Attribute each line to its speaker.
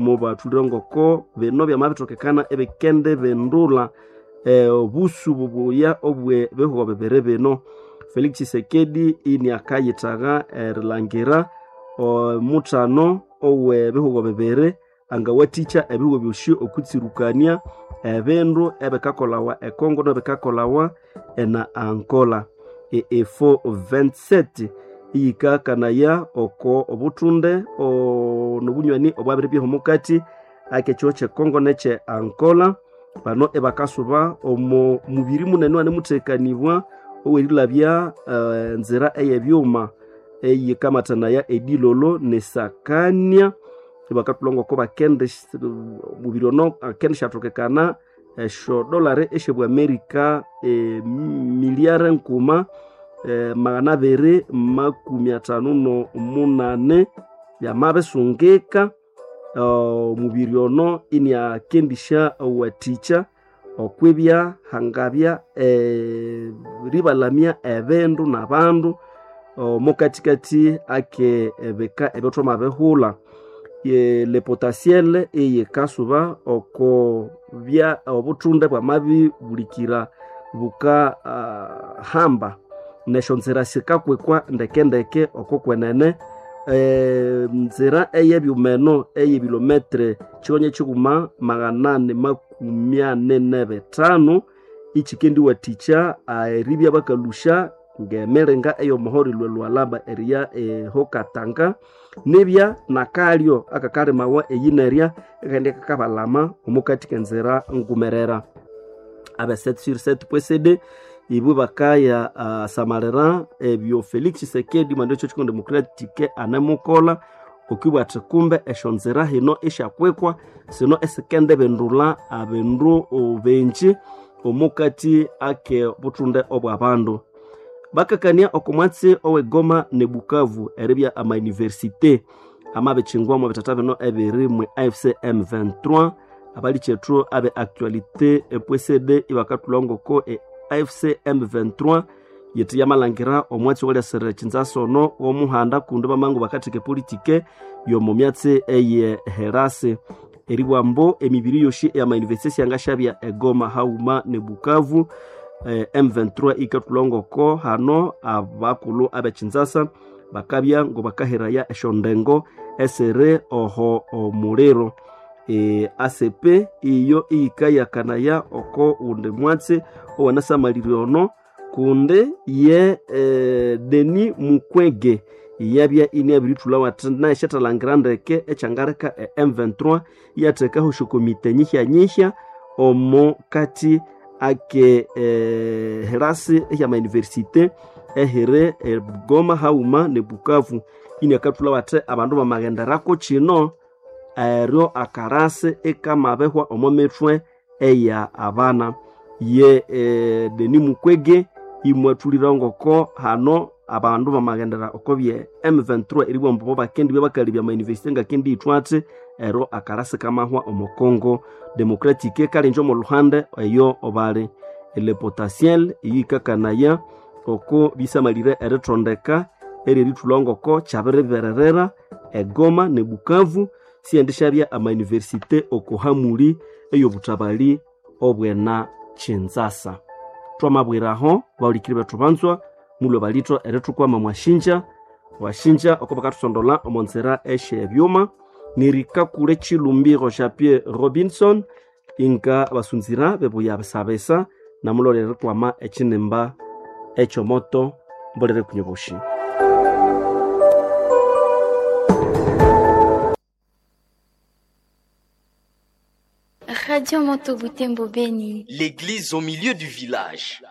Speaker 1: Mubathulire ngoko bino byamabithokekana ebikende bindula obusu bubuya obwe bihugo bibiri bino. Felix Tshisekedi iniakayitagha erilhangira omuthano owe bihugo bibiri angawathikya ebihugo byosi okwitsirukania ebindu ebikakolawa e Congo nebikakolawa ena Angola. Efo 27 iyikakanaya oko obuthunde nobunywani obwabiribyaho omukati ak'ekihugo kye Congo nekye Angola. Bano ibakasuba omo mubiri munene owanemuthekanibwa owerilabya enzira eyebyuma eyikamathanaya edilolo nesakania. Ibakathulha ngoko bakendi omubiri ono akendisyathokekana esyo dollar esyobwa America emiliare nkuma 258 byamabisungika. Omubiri ono iniakendisyawathikya okwibya hangabya eribalamya ebindu nabandu omukathikathi ake ebika ebyathwamabihulha. Le potentiel eyikasuba oko bya obuthunde bwamabibulikira buka hamba nesyonzira sikakwikwa ndekendeke oko kwenene. Nzira eyebyuma eno eyebilometre kigonya kyighuma 845 ikikendiwathikya eribya bakalhusya ng'emiringa ey'omuhoro erilhwa Lualaba eriya eho Katanga. Nibya nakalyo akakalimawa eyinerya ikaghenda ikakabalama omukathi k'enzira ngumerera. Abe 7/7.cd ibo bakaya samalira ebyo Felix Tshisekedi mwandi ekyo Congo Democratic anemukolha okwibugha athi kumbe esyonzira hino esyakwikwa sino esikendibindulha abindu bingi omukathi ake buthunde obw'abandu. Bakakania oko mwatsi owe Goma ne Bukavu eribya ama université amabikingwa omo bithatha bino ebiri mwe AFC M23. Abalikyethu abe actualité e.cd ibakathulha ngoko AFC M23 yithi yamalhangira omwatsi owalyasira Kinshasa ono w'omuhanda kundi bamangu bakatheka epolitike y'omo myatsi eye Herase. Eribugha ambu emibiri yosi eyama université syangasyabya e Goma haghuma ne Bukavu. M23 ikathulha ngoko hano abakulhu abe Kinshasa bakabya ngobakahiraya esyondengo esiri oho omuliro. ACP iyo iyikayakanaya oko wundi mwatsi owanasamalire ono kundi ye Denis Mukwege iyabya iniabirithulha athi nayo syathalhangira ndeke ekyangaleka e M23 iyathekaho esyokomite nyihyanyihya omo kathi ake herasi ehyama université ehiri e Goma haghuma ne Bukavu. Iniakathulha athi abandu bamaghenderako kino eryo akarasi ikamabihwa omo mithwe eya abana. Ye Denis Mukwege imwathulira ngoko hano abandu bamaghendera oko bye M23 eribugha ambu bo bakendibya bakalebya ama université ngakendiyithwa athi eryo akarasi kamahwa omo Congo Democratic kalinje omo lhuhande eyo bali. Le potentiel eyikakanaya oko bisamalire erithondeka eryerithulha ngoko kyabiribererera e Goma ne Bukavu syendisyabya ama université oko hamuli ey'obuthabali obwena Kinshasa. Twamabwiraho bahulikiri bethu banzwa mulhwe balithwa erithukwama mwashinja washinja oko bakathusondola omo nzira esyebyuma. Nirikakule Chilumbiro Jean-Pierre Robinson inga basunzira bebuya bisabisa namulolera erikwama ekinimba ekyomoto mbolere kunyoboshi.
Speaker 2: Radio Moto Butembo Beni.
Speaker 3: L'église au milieu du village.